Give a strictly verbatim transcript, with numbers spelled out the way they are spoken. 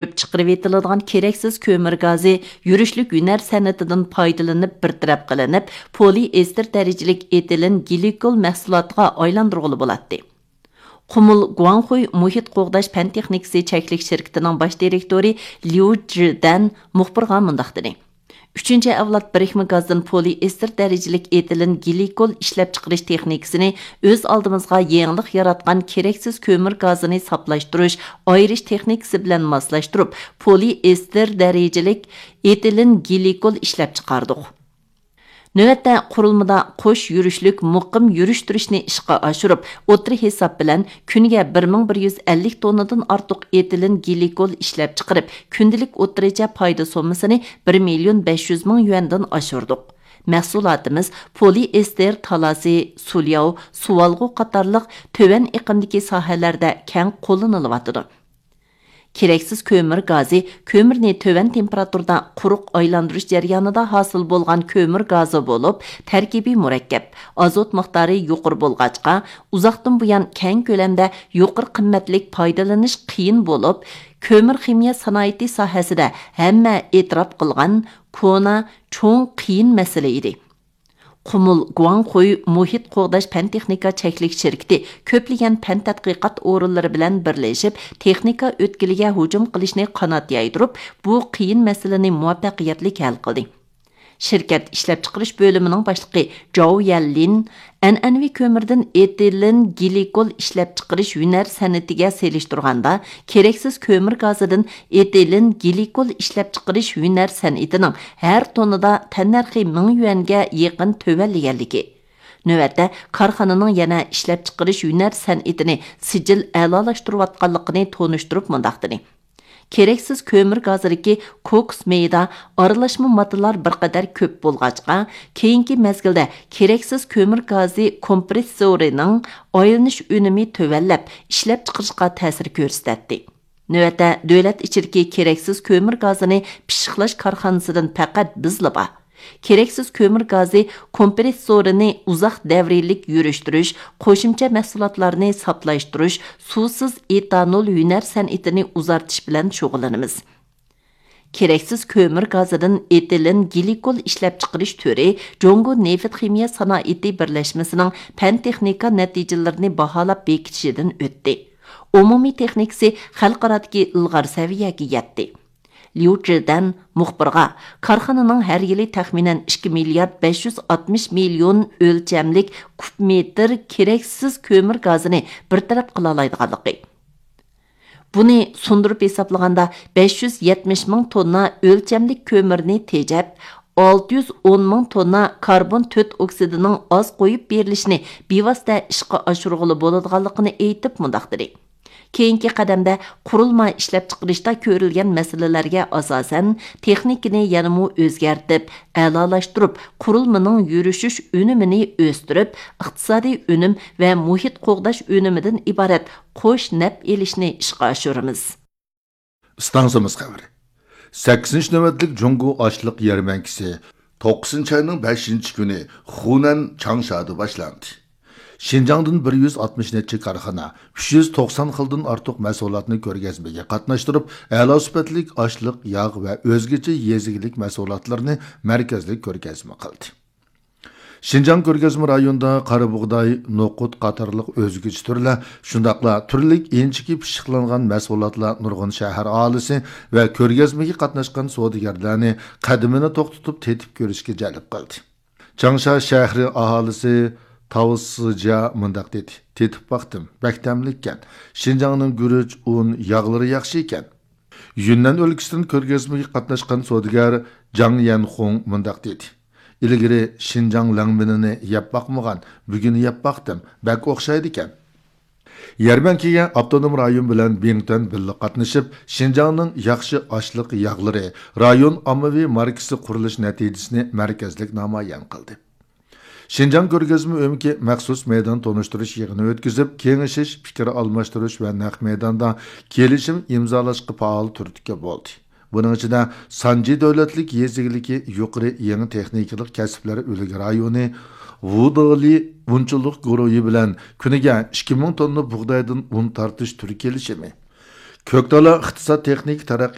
كۆپ چىقىرىۋېتىلىدىغان كېرەكسىز كۆمۈر گازى يۈرۈشلۈك ھۈنەر سەنئىتىدىن پايدىلىنىپ بىر تەرەپ قىلىنىپ، پولىئېستېر دەرىجىلىك ئېتىلېن گلىكول مەھسۇلاتىغا ئايلاندۇرغىلى بولاتتى. قۇمۇل گۇاڭخۇي مۇھىت قوغداش پەن تېخنىكىسى چەكلىك شىركىتىنىڭ باش دىرېكتورى ليۇ جىدەن مۇخبىرغا مۇنداق دېدى: ئۈچىنچى ئەۋلاد بىرىكمە گازدىن پولىئېستېر دەرىجىلىك ئېتىلېن گلىكول ئىشلەپچىقىرىش تېخنىكىسىنى ئۆز ئالدىمىزغا يېڭىلىق ياراتقان كېرەكسىز كۆمۈر گازىنى ساپلاشتۇرۇش، ئايرىش تېخنىكىسى بىلەن ماسلاشتۇرۇپ، پولىئېستېر دەرىجىلىك ئېتىلېن گلىكول ئىشلەپچىقاردۇق. نۆۋەتتە قۇرۇلمىدا قوش يۈرۈشلۈك مۇقىم يۈرۈشتۈرۈشنى ئىشقا ئاشۇرۇپ، ئوتتۇرا ھېساب بىلەن كۈنىگە بىر مىڭ بىر يۈز ئەللىك توننىدىن ئارتۇق ئېتىلېن گلىكول ئىشلەپچىقىرىپ، كۈندىلىك ئوتتۇرىچە پايدا سوممىسىنى بىر مىليون بەش يۈز مىڭ يۈەندىن ئاشۇردۇق. مەھسۇلاتىمىز پولىئېستېر تالاسى، سۇلياۋ، سۇۋالغۇ قاتارلىق تۆۋەن ئېقىمدىكى ساھەلەردە كەڭ قوللىنىلىۋاتىدۇ. كېرەكسىز كۆمۈر گازى كۆمۈرنى تۆۋەن تېمپېراتۇرىدا قۇرۇق ئايلاندۇرۇش جەريانىدا ھاسىل بولغان كۆمۈر گازى بولۇپ، تەركىبى مۇرەككەپ، ئازوت مىقدارى يۇقىرى بولغاچقا، ئۇزاقتىن بۇيان كەڭ كۆلەمدە يۇقىرى قىممەتلىك پايدىلىنىش قىيىن بولۇپ، كۆمۈر خىمىيە سانائىتى ساھەسىدە ھەممە ئېتىراپ قىلغان كونا، چوڭ، قىيىن مەسىلە ئىدى. قۇمۇل گۇاڭخۇي مۇھىت قوغداش پەن تېخنىكا چەكلىك شىركىتى كۆپلىگەن پەن تەتقىقات ئورۇنلىرى بىلەن بىرلىشىپ، تېخنىكا ئۆتكىلىگە ھۇجۇم قىلىشنى قانات يايدۇرۇپ، بۇ قىيىن مەسىلىنى مۇۋەپپەقىيەتلىك ھەل قىلدى. شىركەت ئىشلەپچىقىرىش بۆلۈمىنىڭ باشلىقى جاۋ يەنلىن ئەنئەنىۋى كۆمۈردىن ئېتىلېن گلىكول ئىشلەپچىقىرىش ھۈنەر سەنئىتىگە سېلىشتۇرغاندا، كېرەكسىز كۆمۈر گازىدىن ئېتىلېن گلىكول ئىشلەپچىقىرىش ھۈنەر سەنئىتىنىڭ ھەر توننىدا تەننەرخى مىڭ يۈەنگە يېقىن تۆۋەنلىگەنلىكى، نۆۋەتتە كارخانىنىڭ يەنە ئىشلەپچىقىرىش ھۈنەر سەنئىتىنى سىجىل ئەلالاشتۇرۇۋاتقانلىقىنى تونۇشتۇرۇپ مۇنداق دېدى: كېرەكسىز كۆمۈر گازىدىكى كوكس مەيدا ئارىلاشما ماددىلار بىر قەدەر كۆپ بولغاچقا، كېيىنكى مەزگىلدە كېرەكسىز كۆمۈر گازى كومپرېسسورىنىڭ ئايلىنىش ئۈنۈمى تۆۋەنلەپ، ئىشلەپچىقىرىشقا تەسىر كۆرسىتەتتى. نۆۋەتتە دۆلەت ئىچىدىكى كېرەكسىز كۆمۈر گازىنى پىششىقلاش كارخانىسىدىن پەقەت بىزلا بار. كېرەكسىز كۆمۈر گازى كومپرېسسورىنى ئۇزاق دەۋرىيلىك يۈرۈشتۈرۈش، قوشۇمچە مەھسۇلاتلارنى ساپلاشتۇرۇش، سۇسىز ئېتانول ھۈنەر سەنئىتىنى ئۇزارتىش بىلەن شۇغۇللىنىمىز. كېرەكسىز كۆمۈر گازىدىن ئېتىلېن گلىكول ئىشلەپچىقىرىش تۈرى جۇڭگو نېفىت خىمىيە سانائىتى بىرلەشمىسىنىڭ پەن تېخنىكا نەتىجىلىرىنى باھالاپ بېكىتىشىدىن ئۆتتى. ئومۇمىي تېخنىكىسى خەلقئارادىكى ئىلغار سەۋىيەگە يەتتى. ليۇ جىدەن مۇخبىرغا، كارخانىنىڭ ھەر يىلى تەخمىنەن ئىككى مىليارد بەش يۈز ئاتمىش مىليون ئۆلچەملىك كۇب مېتىر كېرەكسىز كۆمۈر گازىنى بىر تەرەپ قىلالايدىغانلىقى، بۇنى سۇندۇرۇپ ھېسابلىغاندا، بەش يۈز يەتمىش مىڭ توننا ئۆلچەملىك كۆمۈرنى تېجەپ، ئالتە يۈز ئون مىڭ توننا كاربون تۆت ئوكسىدىنىڭ ئاز قويۇپ بېرىلىشىنى بىۋاسىتە ئىشقا ئاشۇرغىلى بولىدىغانلىقىنى ئېيتىپ مۇنداق دېدى: كېيىنكى قەدەمدە قۇرۇلما ئىشلەپچىقىرىشتا كۆرۈلگەن مەسىلىلەرگە ئاساسەن، تېخنىكىنى يەنىمۇ ئۆزگەرتىپ، ئەلالاشتۇرۇپ، قۇرۇلمىنىڭ يۈرۈشۈش ئۈنۈمىنى ئۆستۈرۈپ، ئىقتىسادىي ئۈنۈم ۋە مۇھىت قوغداش ئۈنۈمىدىن ئىبارەت قوش نەپ ئېلىشنى ئىشقا ئاشۇرىمىز. ئىستانسىمىز خەۋىرى. سەككىزىنچى نۆۋەتلىك جۇڭگو ئاشلىق يەرمەنكىسى توققۇزىنچى ئاينىڭ بەشىنچى كۈنى خۇنەن چاڭشادا باشلاندى. شىنجاڭدىن بىر يۈز ئاتمىش نەچچە كارخانا، ئۈچ يۈز توقسان خىلدىن ئارتۇق مەھسۇلاتنى كۆرگەزمىگە قاتناشتۇرۇپ، ئەلا سۈپەتلىك ئاشلىق، ياغ ۋە ئۆزگىچە يېزا ئىگىلىك مەھسۇلاتلىرىنى مەركەزلىك كۆرگەزمە قىلدى. شىنجاڭ كۆرگەزمە رايونىدا قارا بۇغداي، نوقۇت قاتارلىق ئۆزگىچە تۈرلەر، شۇنداقلا تۈرلۈك ئىنچىكە پىششىقلانغان مەھسۇلاتلار نۇرغۇن شەھەر ئاھالىسى ۋە كۆرگەزمىگە قاتناشقان سودىگەرلەرنى قەدىمىنى توختىتىپ تېتىپ كۆرۈشكە جەلپ قىلدى. چاڭشا شەھىرى ئاھالىسى تاۋ سىجيا مۇنداق دېدى: تېتىپ باقتىم، بەك تەملىككەن. شىنجاڭنىڭ گۈرۈچ، ئۇن، ياغلىرى ياخشى ئىكەن. يۈننەن ئۆلكىسىدىن كۆرگەزمىگە قاتناشقان سودىگەر جاڭ يەنخۇڭ مۇنداق دېدى: ئىلگىرى شىنجاڭ لەڭمىنىنى يەپ باقمىغان، بۈگۈن يەپ باقتىم، بەك ئوخشايدىكەن. يەرمەنكىگە ئاپتونوم رايون بىلەن بىڭتۈەن بىللە قاتنىشىپ، شىنجاڭنىڭ ياخشى ئاشلىق ياغلىرى رايون ئاممىۋى ماركىسى قۇرۇلۇش نەتىجىسىنى مەركەزلىك نامايان قىلدى. شىنجاڭ كۆرگەزمە ئۆمىكى مەخسۇس مەيدان تونۇشتۇرۇش يىغىنى ئۆتكۈزۈپ، كېڭىشىش، پىكىر ئالماشتۇرۇش ۋە نەق مەيداندا كېلىشىم ئىمزالاشقا پائال تۈرتكە بولدى. بۇنىڭ ئىچىدە سانجى دۆلەتلىك يېزا ئىگىلىكى يۇقىرى يېڭى تېخنىكىلىق كەسىپلەر ئۈلگە رايونى ۋۇدېلى ئۇنچىلىق گۇرۇھى بىلەن كۈنىگە ئىككى مىڭ توننا بۇغدايدىن ئۇن تارتىش تۈرى كېلىشىمى، كۆكتالا ئىقتىساد تېخنىكا تەرەققىي